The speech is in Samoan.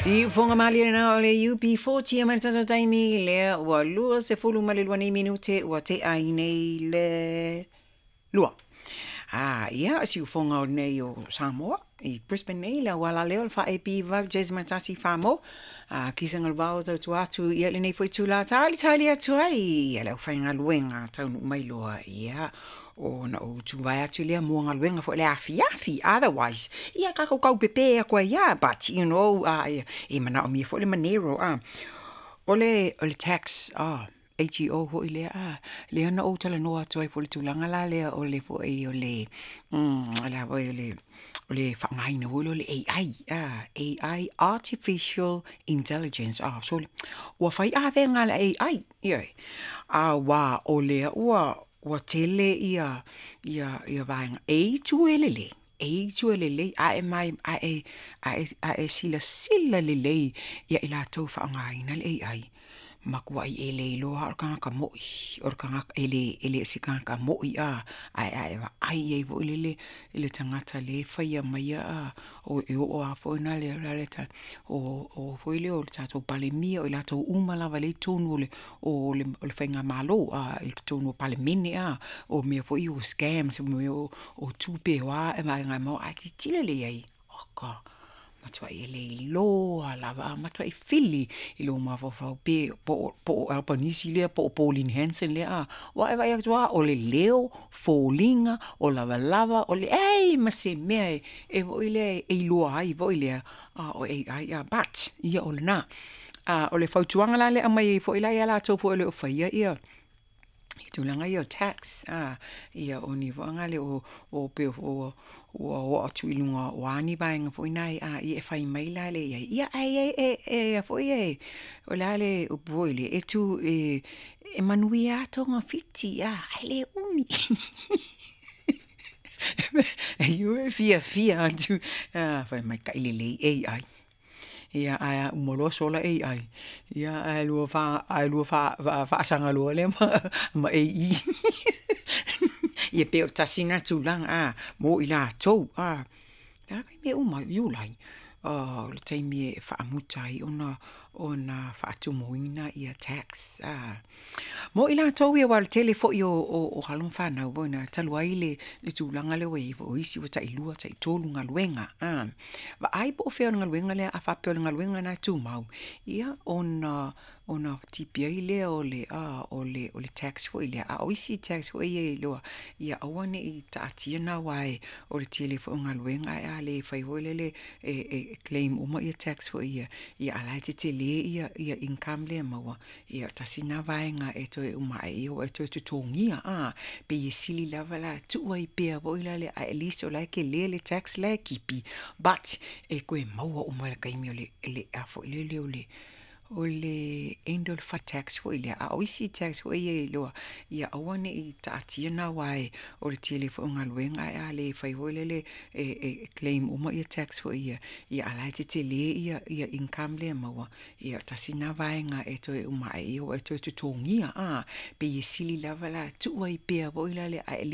Siufoga malie lena o le UB40 mai le tatou taimi lea ua 22 nei minute ua tea ai nei le 2. A ia, siufoga o nei o Samoa i Brisbane nei, le auala lea o le 4AB 8 1 mo. A kisa galuvao tautua atu ia lenei foi itula talitali atu ai ia le aufaigaluega taunuu mai loa, ia ona ou tuvae atu lea mo galuega foi le afiafi. Otherwise, ia tatou taupepe atu ai lava, but you know, e manaomia foi le manero. O le tax, ATO foi lea, lea na ou talanoa atu ai foi i le tulaga la lea o le foi o le a foi o le faaaogaina foi lea o le AI, AI, artificial intelligence. So ua fai avega a le AI, ioe, aua o lea ua tele ia vaega e itu e lelei, e itu e lelei, ae mai ae silasila lelei ia i latou faaaogaina le AI. Matuai e le iloa o le tagata moi, o le tagata e le o se tagata moi, ae vaai i ai foi lele i le tagata lea e faia maia, o e oo lava foi na le o o foi lea o le tatou Palemia, o i latou uma lava lea i totonu o le faigamalo, i totonu o Palemene, o mea foi o scams, o mea o tupe o a vaega e maua, ae tilotilo lelei i ai, oka, matuai e le iloa lava, matuai fili i lou mafaufau pe po o Albanese lea po o Pauline Hanson lea. Ua e vaai atu lava o le leo, foliga, o lavalava, o leai ma se mea e foi lea e iloa ai foi lea o AI. But ia o lena. O le fautuaga la lea e aumai ai foi la ia latou foi o le o faia ia i tulaga ia o tax, ia o ni foaga le o pe ua oo atu i luga o a ni vaega foi nai ia e fai mai la le i ai ia ai e foi e o le a le upu foi le e tu e manuia lava togafiti ae le umi. E iu e fiafia atu, fai mai taʻi lelei AI. Ia ae uma loa sola AI, ia ae lua faasaga loa lea ma AI. Ia pe o le tasi lena tulaga mo i latou. Le a taimi e uma ai? Iulai o le taimi e faamuta ai ona faatumuina ia tax mo i latou ia, aua o le tele foi o alo ma fanau foi na talu ai le tulaga lea ua i ai foi, o isi ua tailua, taitolu galuega. Vaai po o fea o le galuega lea, a faapea o le galuega lena e tumau, ia ona tipi ai lea o le tax foi lea. A o isi tax foi ia e iloa, ia aua ne i taatia na, aua o le tele foi o galuega, ae a le fai foi lele e claim uma ia tax foi ia, ia a la e tetele ia income lea e maua. Ia tasi na vaega e toe uma ai ia ua e toe totogia, pei e sili lava la tuu ai pea foi la le, at least o la e tele le tax la e tipi, but e toe maua uma i le taimi o le a foi lele o le end o le tax foi lea. A o isi tax foi ia e iloa, ia aua ne i taatia na, aua o le tele foi o galuega, ae a le fai foi lele e claim uma ia tax foi ia, ia a la e tetele ia income lea e maua. Ia tasi na vaega e toe uma ai ia ua e toe totogia, pei e sili lava la tuu ai pea foi la le